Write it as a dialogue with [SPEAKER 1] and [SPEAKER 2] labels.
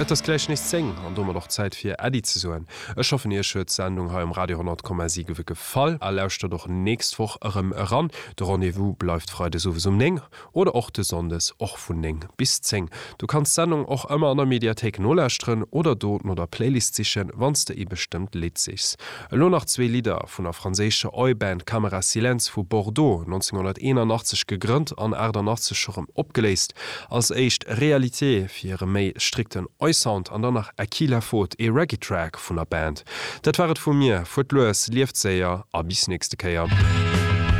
[SPEAKER 1] Et ass gläich nees 10 an domat och Zäit fir Äddi ze soen. Ech hoffen iech huet d'Sendung hei um Radio 100,7 gefall a lauschtert och nächst Woch erëm eran. De Rendez-vous bleift freides owes um 9 oder och de Sonndes och vun 9 bis 10. Du kanns d'Sendung och ëmmer an der Mediathéik nolauschteren oder do no der Playlist sichen, wann s de ee bestëmmt Lidd sichs. Elo nach zwee Lidder vun der franséischer Oi-Band Camera Silence vu Bordeaux, 1981 gegrënnt an 88 scho rëm opgeléist. Als éischt Réalité fir hire méi strikten Oi-Sound an dann nach À qui la faute, ee Reggae-Track vun der Band. Dat war et vu mir, fuert lues, lieft séier a bis nächste Kéier.